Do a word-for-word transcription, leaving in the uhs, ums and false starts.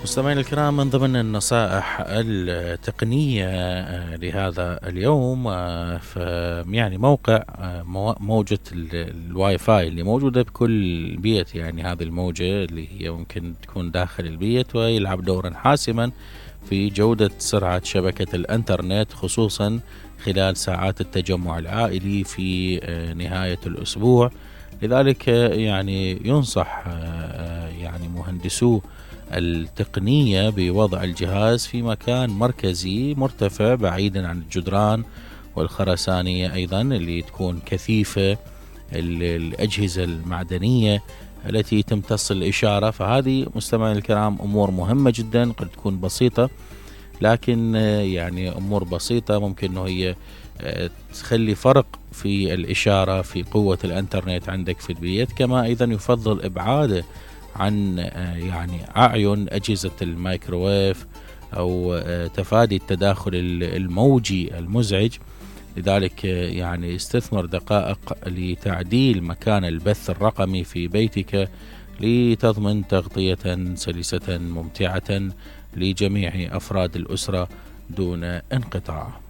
مستمعينا الكرام، من ضمن النصائح التقنية لهذا اليوم يعني موقع موجة الواي فاي اللي موجودة بكل بيت. يعني هذه الموجة اللي هي ممكن تكون داخل البيت ويلعب دورا حاسما في جودة سرعة شبكة الانترنت، خصوصا خلال ساعات التجمع العائلي في نهاية الأسبوع. لذلك يعني ينصح يعني مهندسو التقنية بوضع الجهاز في مكان مركزي مرتفع بعيدا عن الجدران والخرسانية، أيضا اللي تكون كثيفة الأجهزة المعدنية التي تمتص الإشارة. فهذه مستمعين الكرام أمور مهمة جدا، قد تكون بسيطة لكن يعني أمور بسيطة ممكن أنه هي تخلي فرق في الإشارة في قوة الانترنت عندك في البيت. كما أيضا يفضل إبعاده عن يعني أعين أجهزة الميكروويف أو تفادي التداخل الموجي المزعج. لذلك يعني استثمر دقائق لتعديل مكان البث الرقمي في بيتك لتضمن تغطية سلسة ممتعة لجميع أفراد الأسرة دون انقطاع.